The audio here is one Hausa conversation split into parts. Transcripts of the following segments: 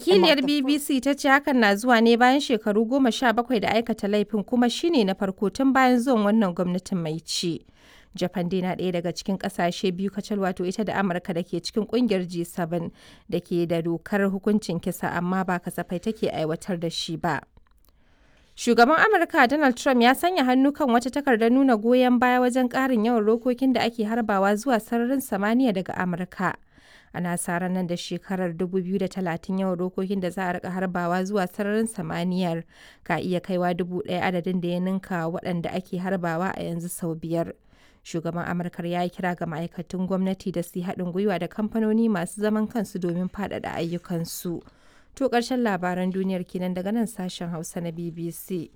Wakiliyar BBC ta ce hakan na zuwa ne bayan shekaru 17 da aikata laifin, kuma shine na farko tun bayan zuwan wannan gwamnatin mai ci. Japan dai na ɗaya daga cikin ƙasashe biyu kacal, wato ita da Amurka, da ke cikin ƙungiyar G7 da ke da dokar hukuncin kisa, amma ba kasafai take aiwatar da shi ba. Shugaban Amurka Donald Trump ya sanya hannu kan wata takardar nuna goyon baya wajen ƙarin yawan rokokin da ake harbawa zuwa sararin samaniya daga Amurka. Ana sa ran nan da shekarar 2030 yawan rokokin da za a rika harbawa zuwa sararin samaniyar ka iya kaiwa 1,000, adadin da ya ninka waɗanda ake harbawa a yanzu sau biyar. Shugaban Amurkar ya yi kira ga ma'aikatan gwamnati da su yi haɗin gwiwa da kamfanoni masu zaman kansu domin faɗaɗa ayyukansu. To, ƙarshen labaran duniyar kenan daga nan sashen Hausa na BBC.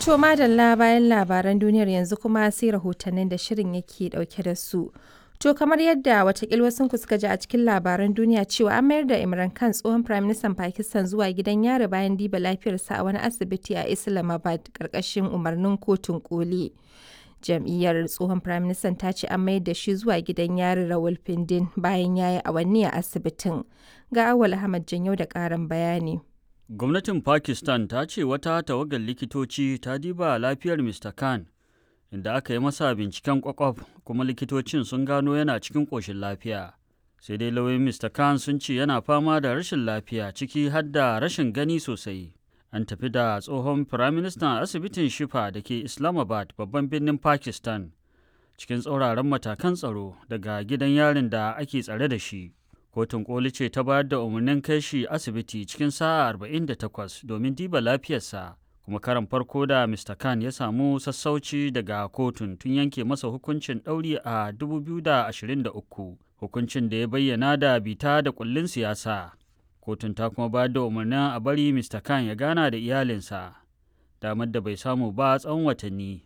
To madalla, bayan labaran duniyar yanzu kuma sai rahotannin da shirin yake dauke da su. To, kamar yadda watakil wasu suka ji a cikin labaran duniya cewa an mayar da Imran Khan, tsohon Firaministan Pakistan, zuwa gidan yari bayan diba lafiyarsa a wani asibiti a Islamabad karkashin umarnin kotun koli. Jam'iyyar tsohon firaministan ta ce an mayar da shi zuwa gidan yari Rawalpindi bayan ya yi awanni a asibitin. Ga Awal Ahmad Janyau da ƙarin bayani. Gwamnatin Pakistan ta ce wata tawagar likitoci ta diba lafiyar Mr. Khan, inda aka yi masa binciken kwakwaf, kuma likitocin sun gano yana cikin ƙoshin lafiya. Sai dai lauyoyin Mr. Khan sun ce yana fama da rashin lafiya, ciki har da rashin gani sosai. An tafi da tsohon firaministan asibitin Shifa da ke Islamabad, babban birnin Pakistan, cikin tsauraran matakan tsaro daga gidan yarin da ake tsare da shi. Kotun koli ce ta bayar da umarnin kai shi asibiti cikin sa'a 48 domin diba lafiyarsa, kuma karan farko da Mr. Khan ya samu sassauci daga kotun tun yanke masa hukuncin ɗauri a 2023, hukuncin da ya bayyana da bita da kullin siyasa. Kotun ta kuma bayar da umarnin a bari Mr. Khan ya gana da iyalinsa, damar da bai samu ba tsawon watanni.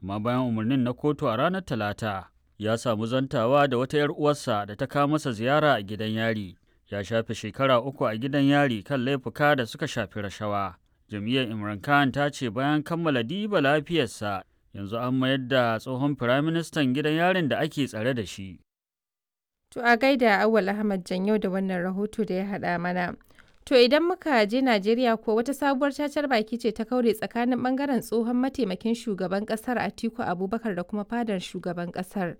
Amma bayan umarnin na kotu a ranar Talata, ya samu zantawa da wata 'yar uwarsa da ta kawo masa ziyara a gidan yari. Ya shafe shekara 3 a gidan yari kan laifuka da suka shafi rashawa. Jam'iyyar Imran Khan ta ce bayan kammala diba lafiyarsa, yanzu an mayar da tsohon firaministan gidan yarin da ake tsare da shi. To, a gaida Awal Ahmad Janyau da wannan rahoto da ya haɗa mana. To, idan muka je Najeriya ko, wata sabuwar cacar baki ce ta kaure tsakanin bangaren tsohon mataimakin shugaban kasar Atiku Abubakar da kuma fadar shugaban kasar.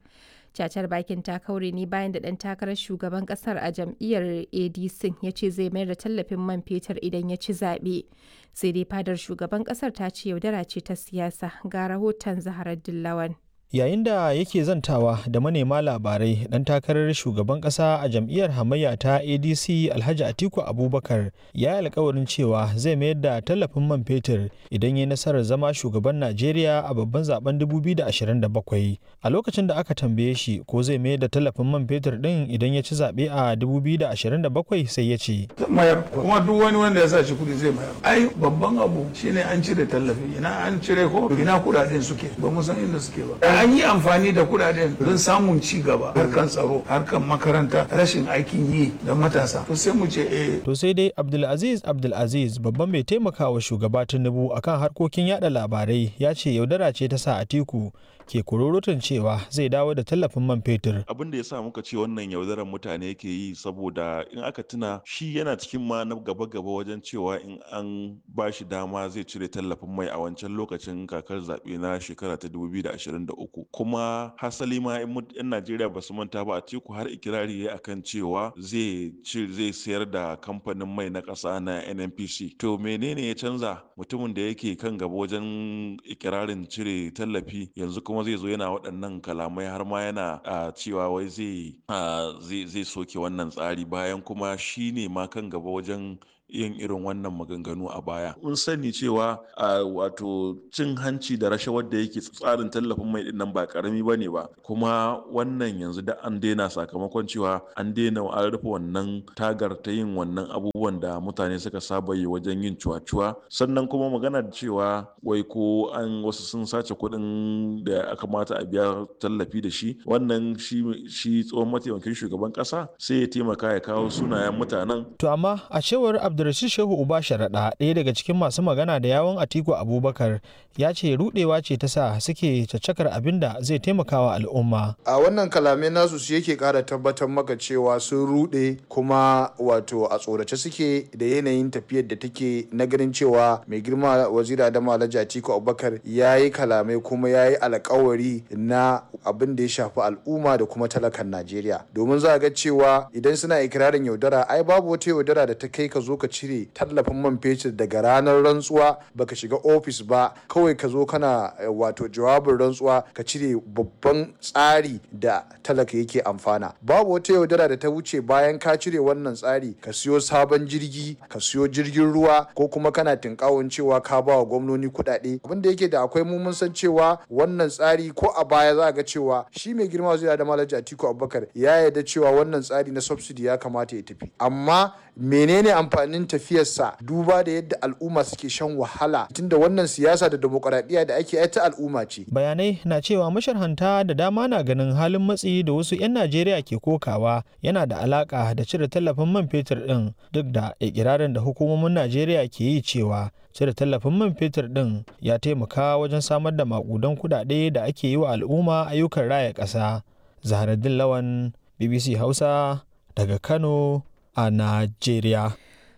Cacar bakin ta kaure ne bayan da ɗan takarar shugaban kasar a jam'iyyar ADC ya ce zai mayar da tallafin man fetur idan ya ci zaɓe. Sai dai fadar shugaban kasar ta ce yaudara ce ta siyasa. Ga rahoton Zaharar Dillawan. Yayin da yake zantawa da manema labarai, dan takarar shugaban kasa a jam'iyyar hamayya ta ADC, Alhaji Atiku Abubakar, ya yi alkawarin cewa zai mayar da tallafin man fetur idan ya nasarar zama shugaban Najeriya a babban zaben 2027. A lokacin da aka tambaye shi ko zai mayar da tallafin man fetur din idan ya ci zaɓe a 2027, sai ya ce: Mayar, kuma duk wani wanda ya sa shi kudi zai mayar. Ai babban abu shine an cire tallafi, ina an cire ko ina kudaden suke, ba mu san inda suke ba. An yi amfani da kudaden don samun ci gaba, harkan tsaro, harkan makaranta, rashin aikin yi da matasa, to sai mu ce eh. To sai dai Abdulaziz Abdulaziz, babban mai taimakawa shugaba Tinubu akan harkokin yada labarai, ya ce yaudara ce ta sa Atiku ke kururutun cewa zai dawo da tallafin man fetur. Abin da ya sa muka ce wannan yaudarar mutane yake yi, saboda in aka tuna, shi yana cikin ma na gaba-gaba wajen cewa in an ba shi dama zai cire tallafin mai a wancan lokacin kakar zaɓe na shekara ta 2023. Kuma hasali ma in 'yan Najeriya ba su manta ba, Atiku har ikirari ya akan cewa zai zai sayar da kamfanin mai na ƙasa na NNPC. To menene ya canza? Mutumin da yake kan gaba wajen ikirarin cire tallafi, yanzu kuma zai zo yana waɗannan kalamai, har ma yana cewa wai zai soke wannan tsari, bayan kuma shi ne ma kan gaba wajen yin irin wannan maganganu a baya. Mun sani cewa wato cin hanci da rashawar da yake tsarin tallafin mai dinnan ba karami ba ne ba, kuma wannan yanzu da an daina, sakamakon cewa an daina, an rufe wannan tagar ta yin wannan abubuwan da mutane suka saba yi wajen yin cuwa-cuwa. Sannan kuma magana cewa wai ko an wasu sun sace kuɗin da aka mata a biya tallafi da shi, wannan shi tsohon mataimakin shugaban ƙasa sai ya taimaka ya kawo sunayen mutanen. To amma a cewar Abdulrashid Shehu Uba Sharaɗa, ɗaya daga cikin masu magana da yawon Atiku Abubakar, ya ce rudewa ce ta sa suke caccakar abin da zai taimakawa al'umma. A wannan kalamai nasu su yake ƙara tabbatar maka cewa sun rude kuma wato a tsorace suke da yanayin tafiyar da take na ganin cewa mai girma waziri Adamu Alhaji Atiku Abubakar ya yi kalamai kuma ya yi alkawari na abin da ya shafi al'umma da kuma talakan Najeriya. Domin za a ga cewa idan suna ikirarin yaudara, ai babu wata yaudara da ta kai ka zo ka cire tallafin man fetur daga ranar rantsuwa, baka shiga ofis ba, kawai ka zo kana wato jawabin rantsuwa ka cire babban tsari da talaka yake amfana. Babu wata yaudara da ta wuce bayan ka cire wannan tsari ka siyo sabon jirgi, ka siyo jirgin ruwa, ko kuma kana tinkawon cewa ka ba wa gwamnoni kuɗaɗe. Abin da yake da akwai, mu mun san cewa wannan tsari ko a baya za ga cewa shi mai girma zai da Alhaji Atiku Abubakar ya yarda cewa wannan tsari na subsidy ya kamata ya tafi, amma menene amfanin tafiyarsa duba da yadda al'umma suke shan wahala, tunda wannan siyasa da demokuraɗiyya da ake ta al'umma ce. Bayanai na cewa masharhanta da dama na ganin halin matsi da wasu 'yan Najeriya ke kokawa yana da alaka da cire tallafin man fetur ɗin, duk da ikirarin da hukumomin Najeriya ke yi cewa cire tallafin man fetur ɗin ya taimaka wajen samar da makudan kuɗaɗe da ake yi wa al'umma ayyukan raya ƙasa. Zaharaddin Lawan, BBC Hausa, daga Kano a Najeriya.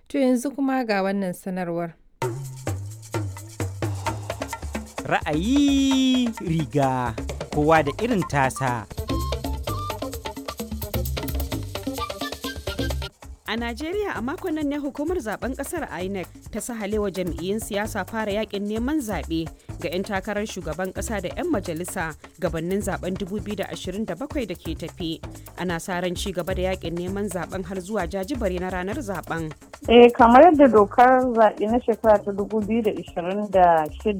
To yanzu kuma ga wannan sanarwar. Ra'ayi riga kowa da irin tasa. A Najeriya a makon nan ne hukumar zaben kasar INEC ta sahalewa jam'iyyun siyasa fara yakin neman zaɓe ga 'yan takarar shugaban ƙasa da 'yan majalisa gabanin zaben 2027 da ke tafi. Ana sa ran ci gaba da yakin neman zaben har zuwa jajibare na ranar zaben. Eh, kamar yadda dokar zaɓe na shekara ta 2026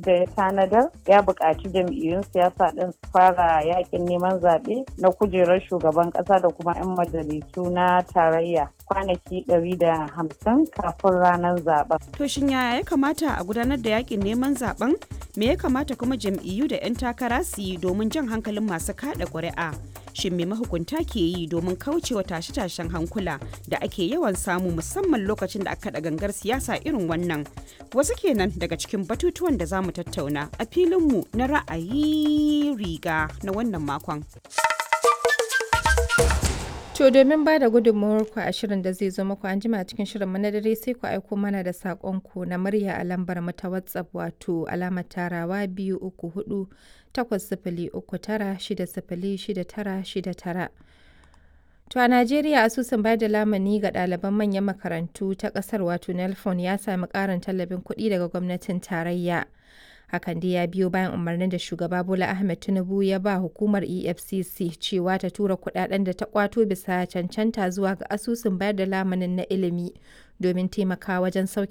ya tanadar, ya buƙaci jam'iyyun siyasa ɗin su fara yakin neman zaɓe na kujerar shugaban ƙasa da kuma 'yan majalisu na tarayya kwanaki 150 kafin ranar zaben. To shin yaya ya kamata a gudanar da yakin neman zaben? Me ya kamata kuma jam'iyyu da 'yan takara su yi domin jan hankalin masu kada ƙuri'a? Shin me mahukunta ke yi domin kaucewa tashe-tashen hankula da ake yawan samu musamman lokacin da aka kaɗa gangar siyasa irin wannan? Wasu kenan daga cikin batutuwan da za mu tattauna a filinmu na ra'ayi riga na wannan makon. To domin ba da gudunmawar ku a shirin da zai zo muku an jima cikin shirin mu na dare, sai ku aiko mana da saƙon ku na murya a lambar mu ta WhatsApp, wato alamar tarawa 234 803 960 6969. To a Najeriya, asusun bayar da lamuni ga ɗaliban manyan makarantu ta ƙasar, wato NELFON, ya sami ƙarin tallafin kuɗi daga gwamnatin tarayya. Hakan dai ya biyo bayan umarnin da shugaba Bola Ahmed Tinubu ya ba hukumar EFCC cewa ta tura kudaden da ta kwato bisa cancanta zuwa ga asusun bayar da lamunin na ilimi domin taimakawa wajen sauke